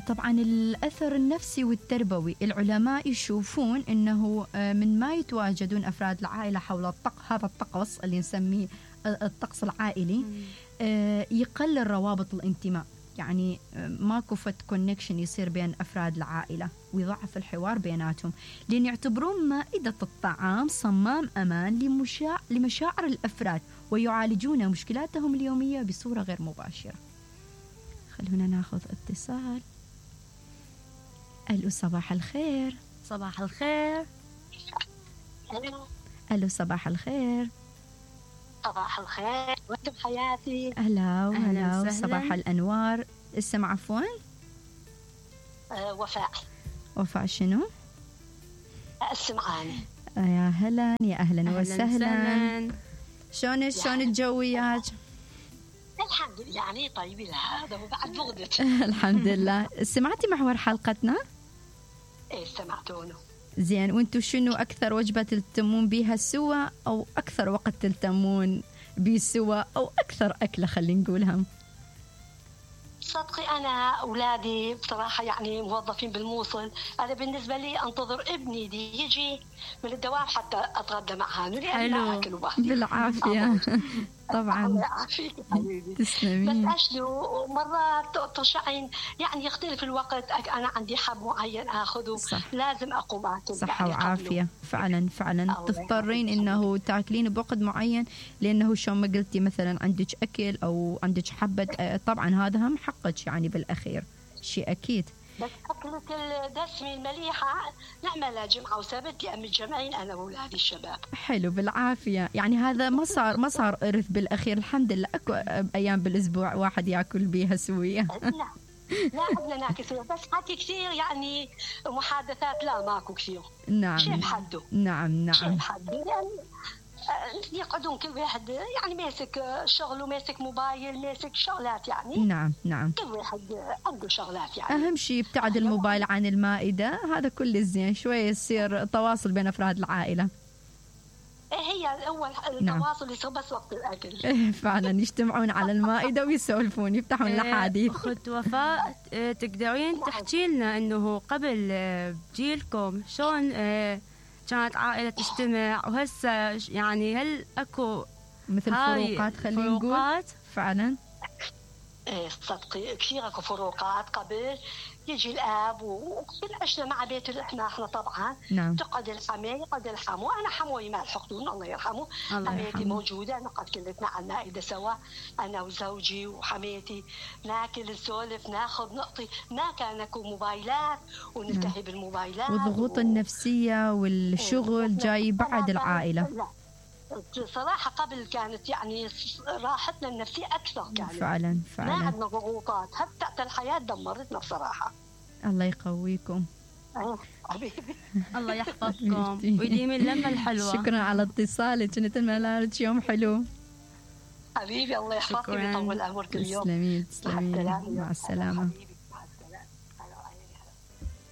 طبعا الأثر النفسي والتربوي، العلماء يشوفون أنه من ما يتواجدون أفراد العائلة حول هذا الطقس اللي نسميه الطقس العائلي، يقلل روابط الانتماء، يعني ماكو فت كونكشن يصير بين أفراد العائلة، ويضعف الحوار بيناتهم، لأن يعتبرون مائدة الطعام صمام أمان لمشاعر الأفراد، ويعالجون مشكلاتهم اليومية بصورة غير مباشرة. خلونا ناخذ اتصال. ألو صباح الخير. صباح الخير. ألو صباح الخير. صباح الخير، وانتم حياتي. أهلا وهلا، صباح الأنوار. اسم عفوا؟ وفاء. وفاء شنو؟ السمعاني. يا هلا، يا أهلا وسهلا. شلون الجويات؟ الحمد لله، يعني طيبين هذا وبعد بغدت. الحمد لله. سمعتي محور حلقتنا؟ ايه سمعتونه. زين، وانتو شنو أكثر وجبة تلتمون بيها سوا، أو أكثر وقت تلتمون بيه سوا، أو أكثر أكلة خلينا نقولها؟ صدقي أنا أولادي بصراحة يعني موظفين بالموصل، أنا بالنسبة لي أنتظر ابني دي يجي من الدوام حتى أتغدى معه، لأن أكل وحدي. بالعافية. طبعا. الله يعافيك حبيبي. تسلمين. بس أشلو مرات ترشعين يعني يختلف الوقت، أنا عندي حب معين أخذه، لازم أقوم أكل. صحة وعافية. فعلا تضطرين إنه تاكلين بوقت معين، لأنه شو ما قلتي مثلا عندك أكل أو عندك حبة، طبعا هذا هم حقك يعني بالأخير، شيء أكيد. بس أكلة الدسمة المليحة نعملها جمعة وسبت لأم الجمعين أنا وأولادي الشباب. حلو، بالعافية. يعني هذا ما صار إرث بالأخير، الحمد لله. أكو أيام بالأسبوع واحد يأكل بيها سوية. لا عندنا ناكل سوية، بس حكي كثير يعني محادثات لا ماكو كثير. نعم. شيء بحده. نعم. شيء بحده يعني يقعدون كل واحد يعني ماسك شغل وماسك موبايل، ماسك شغلات يعني. نعم. كل واحد عنده شغلات يعني. أهم شيء ابتعد الموبايل عن المائدة، هذا كل الزين، شوية يصير تواصل بين أفراد العائلة. هي أول التواصل يصير بس وقت الأكل. فعلا يجتمعون على المائدة ويسولفون، يفتحون الأحاديث. أخت وفاء، تقدرين تحكي لنا إنه قبل بجيلكم شلون كانت عائلة تجتمع، وهسه يعني هل أكو مثل فروقات خلينا نقول؟ فعلا. صدقي كثير اكو فروقات. قبل يجي الاب وبنعشنا مع بيت احنا طبعا. نعم. تقعد الحماية يقعد الحمو، انا حموي ما الحقدون الله يرحمه، حميتي موجوده، نقعد كلنا على المائده سوا انا وزوجي وحميتي، ناكل نسولف ناخذ نعطي، ما كان اكو موبايلات وننتهي بالموبايلات. والضغوط النفسيه والشغل جاي بعد العائله. لا صراحة قبل كانت يعني راحتنا النفسية أكثر كانت. فعلا. ما عندنا ضغوطات، حتى الحياة دمرتنا بصراحة. الله يقويكم. حبيبي. الله يحفظكم ويديم اللمة الحلوة. شكرا على اتصالك، نتمنى لك يوم حلو. حبيبي الله يحفظك ويطول عمرك اليوم. تسلمين. مع السلامة.